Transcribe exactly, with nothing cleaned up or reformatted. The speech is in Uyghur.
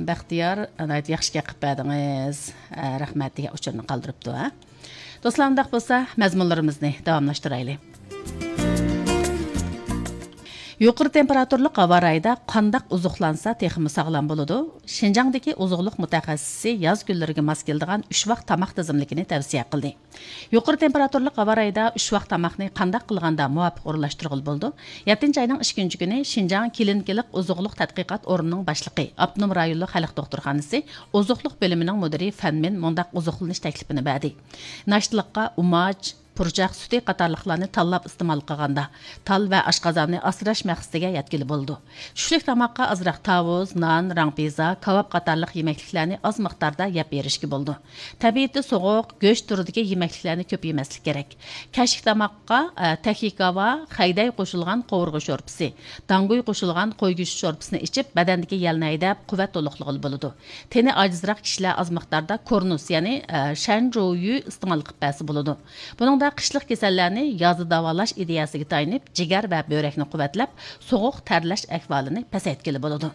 بەختىيار، ناھايىتى ياخشى گەپ قىلىپ بەردىڭىز. ئە، رەھمەت دېگەن ئۇچۇرنى قالدۇرۇپتۇ، ھە. دوستلار، ئۇنداق بولسا، مەزمۇنلىرىمىزنى داۋاملاشتۇرايلى. يۇقىرى تېمپېراتۇرىلىق ھاۋا رايىدا قانداق ئوزۇقلانسا تېخىمۇ ساغلام بولىدۇ؟ شىنجاڭدىكى ئوزۇقلۇق مۇتەخەسسىسى ياز كۈنلىرىگە ماس كېلىدىغان ئۈچ ۋاق تاماق تىزىملىكىنى تەۋسىيە قىلدى. يۇقىرى تېمپېراتۇرىلىق ھاۋا رايىدا ئۈچ ۋاق تاماقنى قانداق قىلغاندا مۇۋاپىق ئورۇنلاشتۇرغىلى بولىدۇ؟ يەتتىنچى ئاينىڭ ئىككىنچى كۈنى شىنجاڭ كلىنىكىلىق ئوزۇقلۇق تەتقىقات ئورنىنىڭ باشلىقى، ئاپتونوم رايونلۇق خەلق دوختۇرخانىسى ئوزۇقلۇق بۆلۈمىنىڭ مۇدىرى فەن مىن مۇنداق ئوزۇقلىنىش تەكلىپىنى بەردى: ناشتىلىققا ئۇماچ، پۇرچاق سۈتى قاتارلىقلارنى تاللاپ ئىستېمال قىلغاندا، تال ۋە ئاشقازاننى ئاسراش مەقسىتىگە يەتكىلى بولىدۇ. چۈشلۈك تاماققا ئازراق تاۋۇز، نان، راڭپىزا، كاۋاپ قاتارلىق يېمەكلىكلەرنى ئاز مىقداردا يەپ بېرىشكە بولىدۇ. تەبىئىتى سوغۇق، گۆش تۈرىدىكى يېمەكلىكلەرنى كۆپ يېمەسلىك كېرەك. كەچلىك تاماققا، ئە، تەكلىكاۋا، خەيدەي قوشۇلغان قوۋۇرغا شورپىسى، داڭگۇي قوشۇلغان قوي گۆشى شورپىسىنى ئىچىپ، بەدەندىكى يەلنى ھەيدەپ، قۇۋۋەت تولۇقلىغىلى بولىدۇ. تېنى ئاجىزراق كىشىلەر ئاز مىقداردا كورنۇس، يەنى، ئە، شەنجويۈ ئىستېمال قىلىپ بەرسە بولىدۇ. بۇنىڭدا قىشلىق كېسەللەرنى يازدا داۋالاش ئىدىيەسىگە تايىنىپ، جىگەر ۋە بۆرەكنى قۇۋۋەتلەپ، سوغۇق تەرلەش ئەھۋالىنى پەسەيتكىلى بولىدۇ.